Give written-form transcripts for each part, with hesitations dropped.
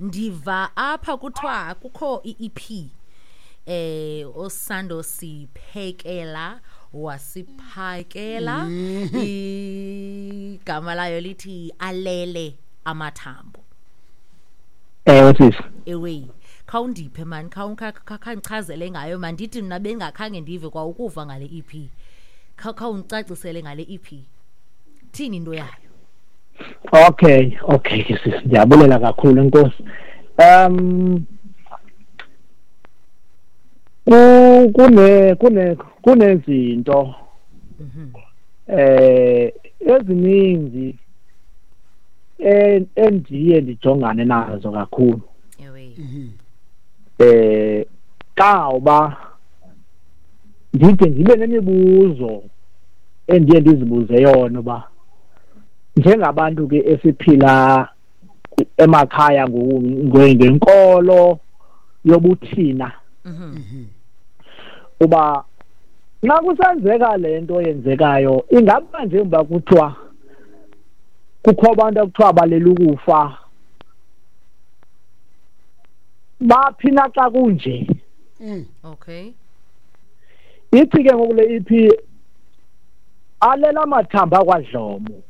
Ndiva apha kuthiwa kukho i-EP osando siphekela wasiphakela, igama layo lithi Alele Amathambo. Ewe sisi. Ewe, khawundiphe mani, khawundichazele ngayo. Mandithi mna bengakhange ndive kwa ukuva ngale EP. Khawundicacisele ngale EP, thini into yayo? Okay ke sisi, ndiyabulela kakhulu, enkosi. Kune kune kunezinto ezininzi endiye ndijongane nazo kakhulu. Kawuba ndide ndibe nemibuzo endiye ndizibuze yona, uba njengabantu ke esiphila emakhaya ngenkolo yobuthina, uba nxa kusenzeka le nto yenzekayo, ingaba njengoba kuthiwa kukho abantu ekuthiwa balela ukufa, baphi na xa kunje? Ithi ke ngoku le EP, Alela Amathambo akwaDlomo.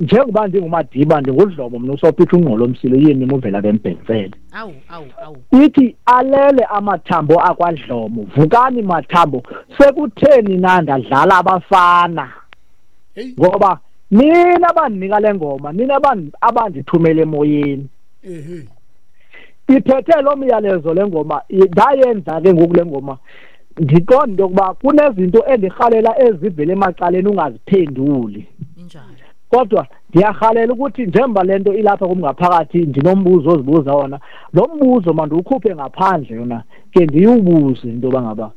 Njengoba ndinguMadiba, ndinguDlomo mna, uSophitha ungqolo omsilo yini muvela bembhentsele. Awu, awu, awu. Ithi alele amathambo akwaDlomo, vukani mathambo, sekutheni na ndadlala abafana? Hey. Ngoba nina abandinika le ngoma, nina abandithumele emoyeni. Iphethe lo myalezo le ngoma, ndayenza ke ngoku le ngoma. Ndiqonda into yokuba kunezinto endirhalela ezivela emacaleni ungaziphenduli. Injalo. Kodwa ndiyarhalela ukuthi njengoba le nto ilapha kum ngaphakathi, ndinombuzo ozibuza wona. Lo mbuzo mandiwukhuphe ngaphandle yona, ke ndiwubuze into yoba ngaba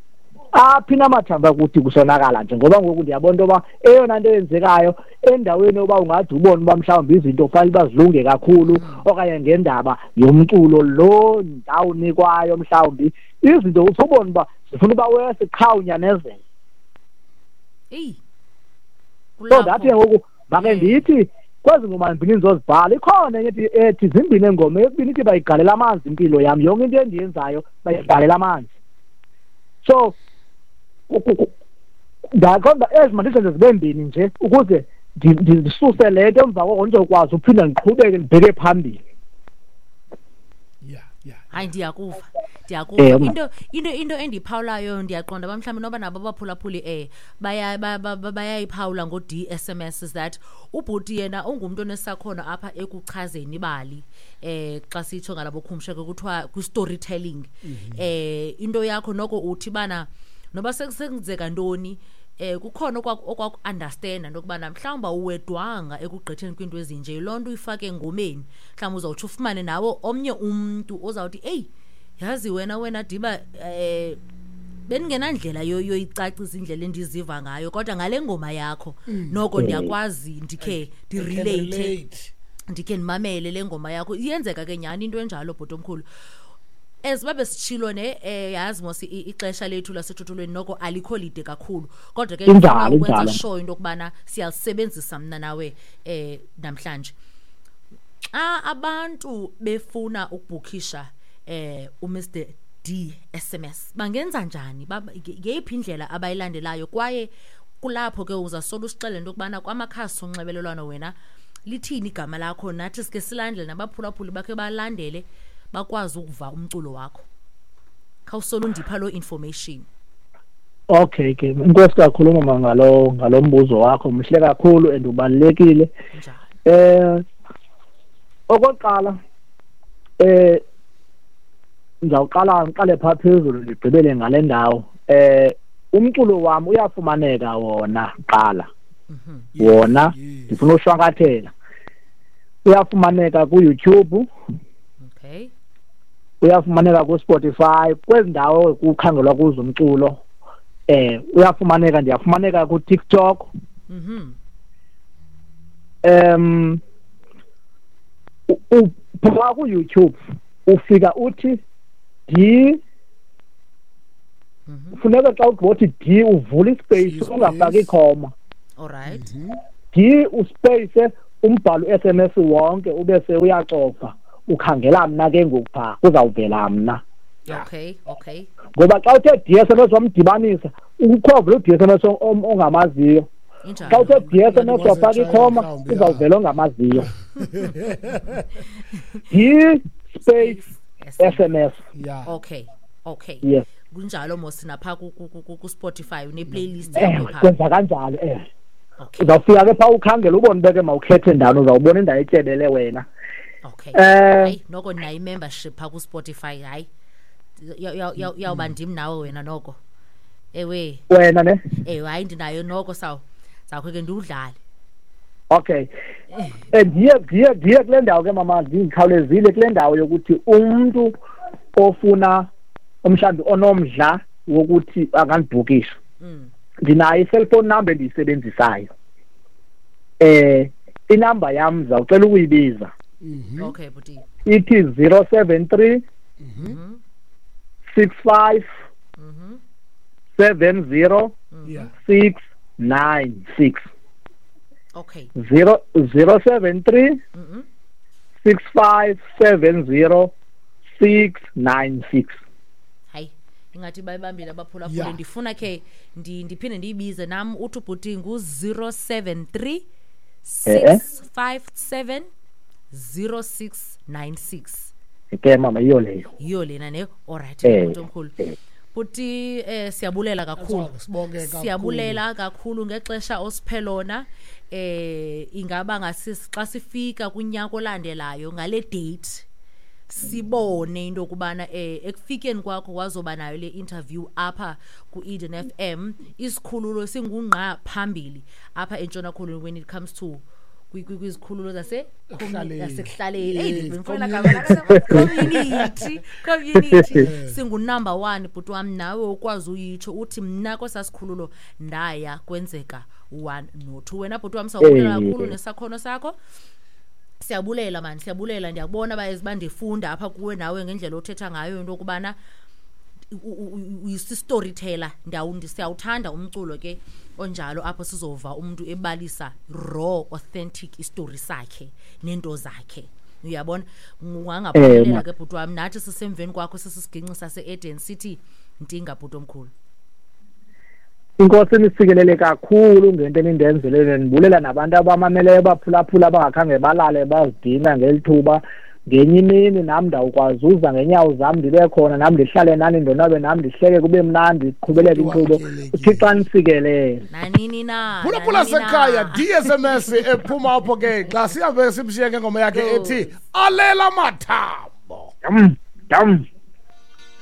aphi namathambo akuthi kusonakala nje, ngoba ngoku ndiyabona into yoba eyona nto eyenzekayo endaweni yoba ungade ubone uba mhlawumbi izinto kufanele uba zilunge kakhulu, okanye ngendaba yomculo lo ndawunikwayo, mhlawumbi izinto usubona uba zifuna uba wesi qha unyanezele. Eyi. So ndathi ke ngoku make ndithi kwezi ngoma mbini ndizozibhala, ikhona enye ethi zimbini engoma, eyesibini ithi bayigalela amanzi impilo yam, yonke into endiyenzayo bayigalela amanzi. So ndaqonda ezi mandizenze zibe mbini nje ukuze ndisuse le nto, emva koko ndizokwazi uphinda ndiqhubeke ndibheke phambili. Yeah. Hayi, ndiyakuva, ndiyakuva. Into endiyiphawulayo, ndiyaqonda uba mhlawumbi noba nabo abaphulaphuli bayayiphawula ngo-D SMS, is that ubhuti yena ungumntu onesakhono apha ekuchazeni ibali, xa sitsho ngalabo khumsha ke kuthiwa kwi-storytelling. Into yakho noko uthi bana noba sekusenzeka ntoni, kukhona okwaku-understanda into yokubana mhlawumbi awuwedwanga ekugqitheni kwiinto ezinje. Loo nto uyifake engomeni, mhlawumbi uzawutsho ufumane nawo omnye umntu ozawuthi, eyi, yazi wena Diba, bendingenandlela yoyicacisa indlela endiziva ngayo, kodwa ngale ngoma yakho noko ndiyakwazi ndikhe I can ndirelate, relate. ndikhe ndimamele le ngoma yakho. Iyenzeka ke nyhani into enjalo, bhuti omkhulu. As babe sitshilo ne, yazi mos ixesha lethu lasethuthulweni noko alikho lide kakhulu, kodwa ke ndifuna ukwenza sure into yokubana siyalisebenzisa mna nawe namhlanje. Xa abantu befuna ukubhukhisha uMr D SMS, bangenza njani? Ngeyiphi indlela abayilandelayo? Kwaye kulapho ke uzasola usixelele into yokubana kwamakhasi onxibelelwano wena lithini igama lakho, nathi sike silandele, nabaphulaphuli bakhe balandele, bakwazi ukuva umculo wakho. Khawusolo undipha loo information. Okay ke, inkosi kakhulu mama ngalo mbuzo wakho, mhle kakhulu and ubalulekile. Njalo. Okokuqala, ngizawuqala ngiqale pha phezulu ndigqibele ngale ndawo. Umculo wami uyafumaneka wona kuqala. Wona ndifuna ushwankathela. Uyafumaneka ku YouTube. Uyafumaneka ku Spotify, kwezi ndawo kukhangelwa kuzo umculo. Uyafumaneka, ndiyafumaneka ku TikTok. Pha ku YouTube ufika uthi D, funeka xa uthi D uvula ispace, Space. ungafaki ikhoma. All right. D uspace umbhalo SMS wonke ube se uyacofa. Ukhangela mna ke ngoku phaa, kuzawuvela mna. Okay, okay. Ngoba xa uthe DSMS wamdibanisa, ukhova lo DSMS ongamaziyo. Xa uthe DSMS wafaka ikhoma, uzawuvela ongamaziyo. D space SMS. Yeah. Okay, okay. Yes. Kunjalo mos napha ku Spotify une playlist yakho pha. Kwenza kanjalo Okay. Uzawufika ke pha ukhangela ubone beke mawukhethe ndawo, uzawubona indawo etyebele wena. Okay. Hayi noko nayo membership pha ku Spotify, hayi. Yawuba ndim nawe wena noko. Ewe. Wena ne? Ewe, hayi ndinayo noko sawo. Zakho ke ndiwudlale. Okay. Ndiye kule ndawo ke mama, ndikhawulezile kule ndawo yokuthi umuntu ofuna umhlawumbi onomdla wokuthi angandibhukisha. Ndinayo i-cellphone number endiyisebenzisayo. Inamba yam ndizawucela ukuyibiza. Okay, buti. Ithi 073 65 70 696. Okay. 073 65 70 696. Hayi, ingathi bayibambile abaphulaphuli. Ndifuna ke ndiphinde ndiyibize nam uthi ubhuti ngu 073 657 0696. Ke mama, yiyo leyo. Yiyo lena ne. Alright, bhuti omkhulu. Bhuti, siyabulela kakhulu. Siyabulela kakhulu ngexesha osiphe lona. Ingaba ngasisi xa sifika kunyaka olandelayo ngale date sibone into kubana ekufikeni kwakho wazoba nayo le interview apha ku Eden FM, isikhululo singungqa phambili apha eNtshona Koloni when it comes to kwizikhululo zasekuhlaleni. Community singu number 1 bhuti wami, nawe ukwazi uyitsho uthi mna kwesasikhululo ndaya kwenzeka 1 no 2. Wena bhuti wami sawubulela kakhulu nesakhono sakho. Siyabulela man, siyabulela. Ndiyakubona bandifunda apha kuwe nawe ngendlela othetha ngayo into yokubana uyisi-storyteller. Siyawuthanda umculo ke onjalo apho sizova umuntu ebalisa raw authentic istory sakhe nento zakhe. Uyabona, ungangaphumelela ke bhuti wami, nathi sisemveni kwakho sisiginci sase-Eden City. Ntinga bhuti omkhulu. Inkosi nisikelele kakhulu ngento enindenzele, ndibulela nabantu abamameleyo baphulaphula abangakhange balale bazidina ngelithuba. Ngenye imini nam ndawukwazi uza ngenyawo zam ndibe khona nam ndihlale nani ndonwabe nam ndihleke kube mnandi iqhubeleke inkqubo. uThixo anisikelele. Nanini na. Phulaphula sekhaya DSMS ephuma apho ke xa sihambe simshiye ngengoma yakhe ethi alela mathambo. Dam.